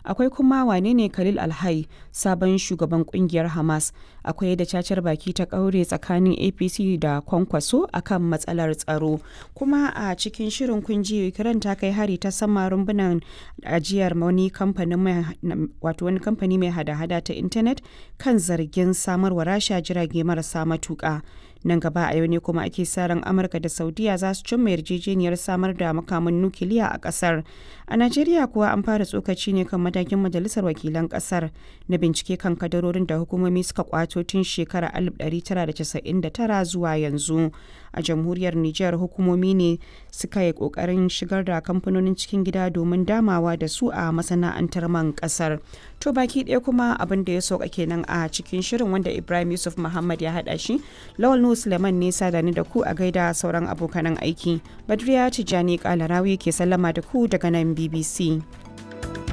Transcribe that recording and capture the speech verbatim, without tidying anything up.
Akwai kuma wane ne Khalil Alhai, sabon shugaban kungiyar Hamas. Akwai yadda cacar baki ta kaure tsakanin A P C da Kwankwaso akan matsalar tsaro. Kuma a cikin shirin kun ji Ukraine ta kai hari ta sama rumbunan ajiyar wani kamfanin mai wato wani kamfani mai hada-hada ta intanet kan zargin samarwa Rasha jirage marasa matuƙa. Nan gaba a yau ne kuma ake sa ran Amurka da Saudiya za su cimma yarjejeniyar samar da makaman nukiliya a kasar. A Najeriya kuwa, an fara tsokaci ne kan matakin Majalisar Wakilan kasar na bincike kan kadarorin da hukumomi suka kwato tun shekarar alif ɗari tara da casa'in da tara zuwa yanzu. A Jamhuriyar Nijar, hukumomi ne suka yi kokarin shigar da kamfanonin cikin gida domin damawa da su a masana'antar man kasar. To, baki ɗaya kuma abin da ya sauka kenan a cikin shirin, wanda Ibrahim Yusuf Muhammad ya haɗa shi. Lawal Nuhu Suleiman ne sada ni da ku. A gaida sauran abokanan aiki. Badriya Tijjani Kalarawi ke sallama da ku daga nan B B C.